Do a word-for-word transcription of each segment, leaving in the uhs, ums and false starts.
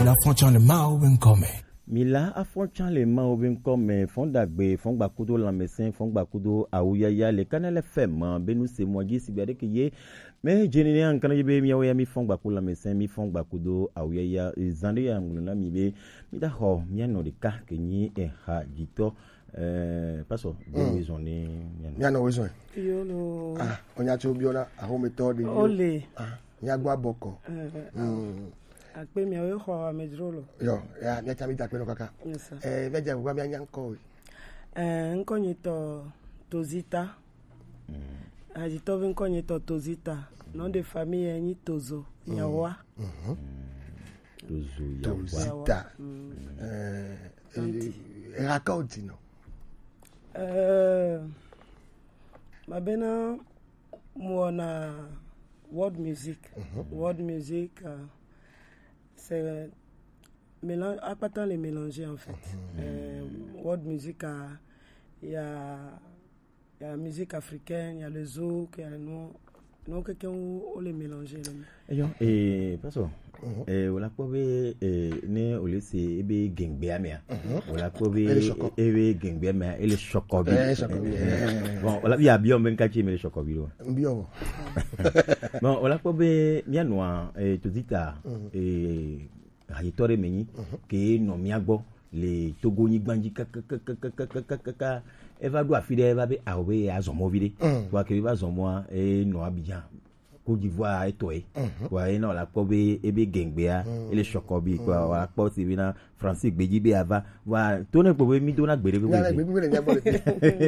La fonction de Mao Benkome. Mila afɔtsan le Mawu be ŋkɔ me, fɔn dagbe, fɔn gbakudo lanmɛsɛn, fɔn gbakudo awuyaya le Kanɛlɛ fɛn ma be nu se mɔ dzi sigbe ɖe ke ye. Mɛ jeni ne ankana dzi be miawo ya mi fɔn gbaku lanmɛsɛn, mi fɔn gbakudo awuyaya, zan ɖe ya ŋlɔ na mi be mi da xɔ mia nɔ ɖeka ke nyi eha dzitɔ. Eh, pasɔ, be mi zɔn ne mia nɔ. Mia nɔ wo zɔn. Yolo. Ah, onya tso biona, ahometɔ de. Ole. Ah, mia gba bɔkɔ. Eh, eh. Mm. Akpe miawo xɔ amedzro lo. Yo, ya, mia tsa mi da akpe nɔ kaka. Yes, sir. Eh, mia dze agbagba mia nya ŋkɔ we. Eh, ŋkɔ nyitɔ Tozita. Hadzitɔvi ŋkɔ nyitɔ Tozita. Nom de famille ye nyi Tozo Yawa. Mhm. Tozo Yawa. Tozita. Mm. Eh, Tanti. Eh, eha ka o di nɔ? Eh, mabena muona world music. Mhm. World music, euh, c'est mélange, akpata le mélanger en fait. Mhm. Euh, world music, euh, il y a, il y a la musique africaine, il y a le zouk, il y a le nom, non, quelqu'un où on les mélanger là. Eyo, eh, pasɔ, eh, wòle kpɔ be, eh, ne wòle se ebe gɛngbea mea, wòle kpɔ be ebe gɛngbea mea, ele sɔkɔ bi. Eh, sɔkɔ bi, eh. Bon, wòle bi abiɔ be ŋkatsi me le sɔkɔ bi ɖo. Biɔ. Bon, wòle kpɔ be mia nɔa, eh, Tozita, eh, hadzitɔ ɖe me nyi, ke nɔ mia gbɔ le Togo nyigba dzi kakakakakaka. Eva ɖo afi ɖe, eva be awo be azɔ mɔ vi ɖe. Vɔa ke va zɔ mɔa, e nɔ Abidjan. Côte d'Ivoire etɔ ye. Vɔa e na wòle kpɔ be ebe gɛngbea, ele sɔkɔ bi kpɔ, wòle kpɔ si be na Francis gbedzi be ava. Vɔa to ne kpɔ be mi do na gbe ɖe be.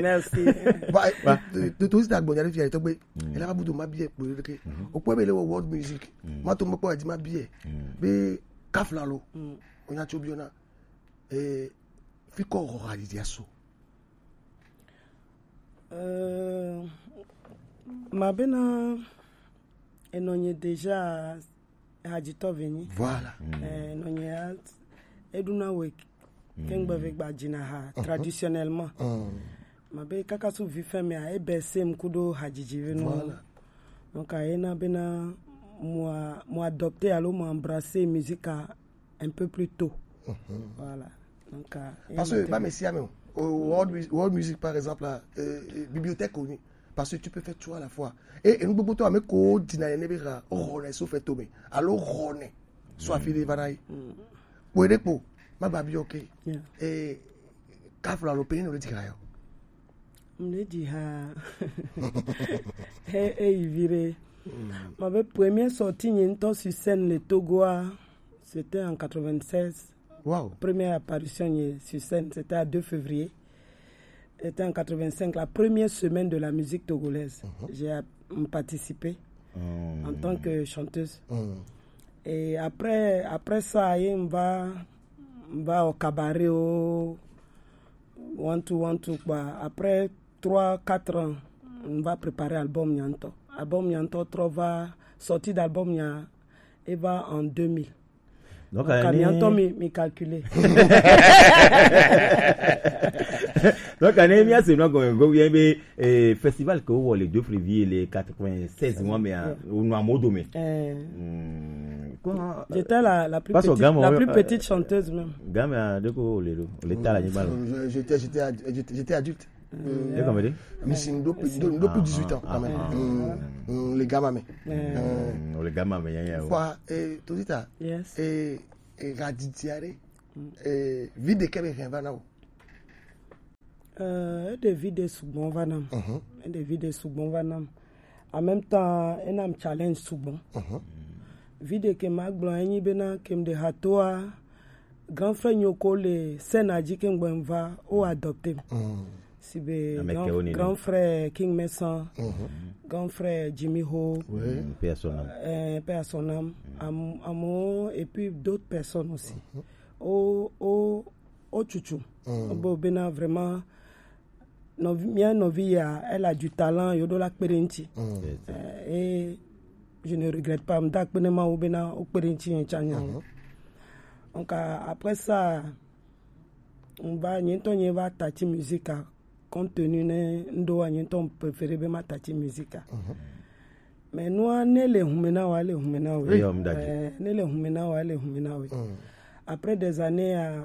Merci. Ba, to, to, to, sita gbɔnya ɖe fia tɔgbe. Ela ba budu ma bie kpɔ ɖe ke. O kpɔ be le wɔ world music. Ma to mo kpɔ adi ma bie. Be kafla lo. Onya tso biona. Eh, fi kɔ xɔ hadzidzi aso. Euh, mabena enɔnye déjà hadzitɔ venyi. Voilà. Eh, enɔnye a-, eduna we kengbe ve gba dzina ha traditionnellement. Mabe kaka su vi fɛn mea, ebe sem kudo hadzidzi ve no. Voilà. Donc, ena bena mo a-, mo adopter alo mo embrasser musique a un peu plus tôt. Voilà. Donc, euh, parce que, ba me si ame o, world, mu- world music, par exemple, là, euh, euh, bibliothèque connue. Parce que tu peux faire tout à la fois. Et, et nous, beaucoup de temps, mais ko dina ne bera, o rone so fait tomber. Alors, rone. Soit fini, va d'ailleurs. Pour les pots, ma babi, ok. Yeah. Et, kafla lo peni no le tira yo. Mle di ha. He, e ivire. Ma be premier sortie nye ŋutɔ sur scène le Togo a, c'était en quatre-vingt-seize. Wow. Première apparition nye sur scène, c'était à deux février. C'était en quatre-vingt-cinq, la première semaine de la musique togolaise. J'ai a-, participé en tant que chanteuse. Et après, après ça, ye mva, mva au cabaret, au one two one two, quoi. Après trois, quatre ans, mva préparer album nya ŋutɔ. Album nya ŋutɔ trɔ va, sortie d'album nya, e va en deux mille. Donc, donc, euh, mi ŋutɔ mi, mi calculer. Donc, ne mia se nɔ gɔme go bien be, eh, festival ke wowɔ le deux février le quatre-vingt-seize mois mea, o nɔ amodo me. Eh. Hmm. J'étais la, la plus petite, la plus petite chanteuse même. Game a de ko le do, le ta la ni ba lo. Je, j'étais, j'étais ad-, j'étais, j'étais adulte. Mm. E kɔmɛ de? Mais c'est une dope, une dope dix-huit ans quand même. Mm, le gamin, mais. Mm, le gamin, mais, ya, ya, ouais. Fois, eh, Tozita. Yes. Eh, eh, raditiare. Eh, vie de kebe va na o. Euh, e de vie de sugbon va nam. E de vie de sugbon va nam. En même temps, e nam challenge sugbon. Vie de ke ma gblɔ enyi bena ke m de hatoa, grand frère nyoko le scène a dzi ke ŋgbɔ va, o adopter m. Si be grand, grand frère King Mason, grand frère Jimmy Ho, mm, paix à son âme. Euh, paix à son âme. Am-, amo, et puis d'autres personnes aussi. O, o, o chuchu. Bo bena vraiment, nɔvi, mia nɔvi ya, elle a du talent, yo do la kpe ɖe ŋuti. Euh, et je ne regrette pas, m da akpe ne Mawu bena o kpe ɖe ŋuti nye tsã nya. Donc, euh, après ça, m va, nye ŋutɔ nye va tati musique a, compte tenu ne ŋɖo wa, nye ŋutɔ m préféré be ma tati musique a. Mais nua ne le hume na wa, le hume na we. Eyɔ, m da dzi. Euh, ne le hume na wa, le hume na we. Après des années, euh,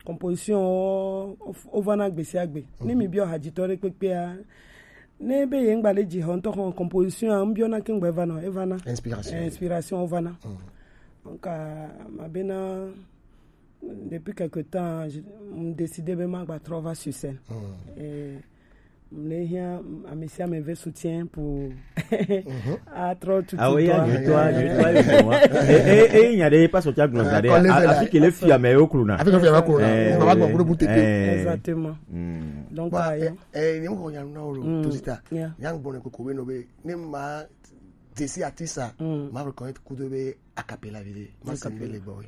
composition o, o, o vana gbe sia gbe. Ne mi bio hajitɔ ɖe kpekpea, ne be ye ŋgba le dzi hɔ ŋutɔ xɔ composition a, ŋbiɔ na ke ŋgba evana, evana. Inspiration. Eh, inspiration o vana. Donc, euh, ma bena, depuis quelque temps, je me décide be ma gba trɔ va sur scène. Et mle hia amesi ame ve soutien pour atrɔ tutu. Ah oui, ya nyuitɔ, nyuitɔ, nyuitɔ. Eh, eh, eh, nya ɖe pas sotia gblɔ da ɖe. Afi ke le fia me yo kluna. Afi ke le fia me yo kluna. Eh, baba gbɔ kudo bute. Exactement. Donc, bah, eh, eh, ni mo ko nya na o lo, to sita. Ya gbɔ ne koko be no be ne ma desi artiste, ma reconnaître kudo be a cappella vide. Ma se be le gbɔ.